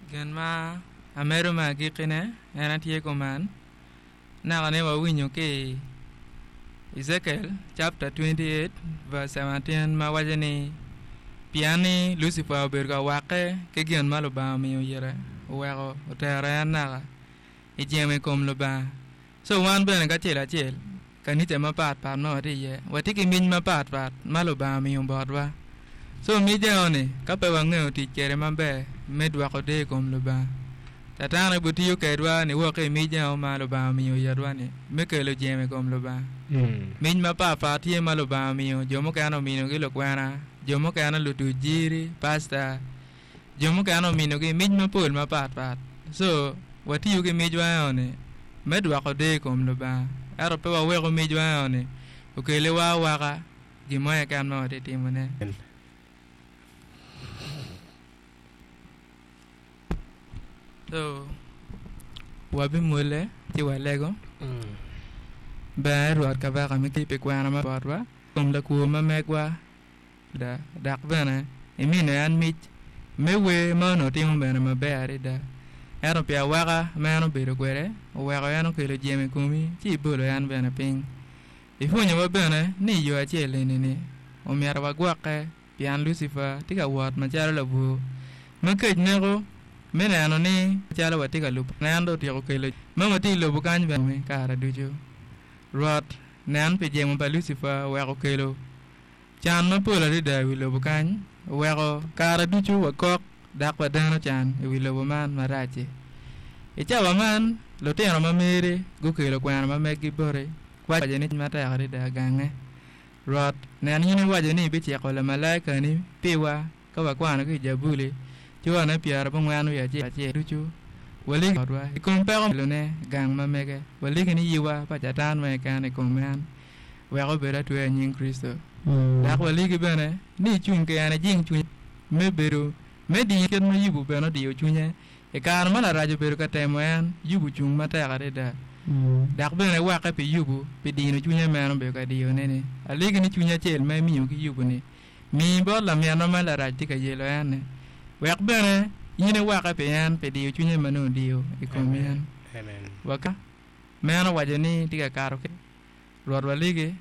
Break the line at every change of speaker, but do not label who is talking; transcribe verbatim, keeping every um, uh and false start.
Gin ma amedo me agikkine en atye kuman naka ni wawinyo ki Ezekiel chapter twenty-eight verse seventeen ma waco ni pien ni Lucifer obedo ka wakke ki gin ma Lubanga omiyo ire oweko otero en naka i jemo i kom Lubanga. So wan bene kacel acel kanica mapatpat ma watye iye watye ki mic mapatpat ma Lubanga omiyo botwa. So mic eno-ni ka pe wang'eyo tic kwede maber me dwoko deyo i kom Lubanga, Catan obotiyo kedwa ni wok ki i mic eno ma Lubanga omiyo itwa-ni me kelo jemo i kom Lubanga. Mic mapatpat tye ma Lubanga omiyo, jo mukene ominogi lukwena, jo mukene lutuc jiri, pasta, jo mukene ominogi mic mapol mapatpat. So watiyo ki micwa eno-ni me dwoko deyo i kom Lubanga, ento pe waweko micwa eno-ni okeliwa awaka gin mo keken ma watye timone. So wabimwole ci walego. Ber Rwot kabaka me pi kwena ma botwa kom lakwo ma megwa da dok bene imine en mic me wer ma onongo timo bene maber adada. Ento pi awaka ma en obedo kwede oweko en okelo jemo i komi ci ibolo en bene piny. Ipwonyowa bene ni i yo acel eni-ni omyero wagwokke pien Lucifer tye ka wot macalo labwor ma kec neko me neno ni calo watye ka lubo en dong otyeko kelo ma watye i lobo kany bene kare ducu. Rwot nen pi jemo pa Lucifer oweko kelo can mapol adada i wi lobo kany, oweko kare ducu wakok dok wadeno can i wi lobo man marac-ci. I cawa man, lutino ma meri gukelo kwena ma meggi boti, waco ni matek adada gange. Rwot, nen in iwaco ni ibiciko lamalaikani piwa ka wakwano ki i Jabuli cura pyerabongwen wiye acel ducu waligi botwa i kom peko kelone gang ma mege waligi ni yiwa pa Catan ma keken i kom en wek obed atweya i nying Kricito. Dok waligi bene ni icung ki en ijing cwinye me bedo me diyo kit ma Yubu bene odiyo cwinye i kare ma Larac obedo ka temo en, Yubu ocung matek adada. Dok bene wakke pi Yubu pi dino cwinye meno obedo ka diyone-ni. Alegi ni cwiny acel ma imiyo ki Yubu-ni mi bot laminwa ma Larac tye ka yelo en-ni, wek bene in iwakke pi en pi diyo cwinye ma nongo odiyo i kom in.
Amen.
Waka meno owaco ni tye ka kato ki Rwot waligi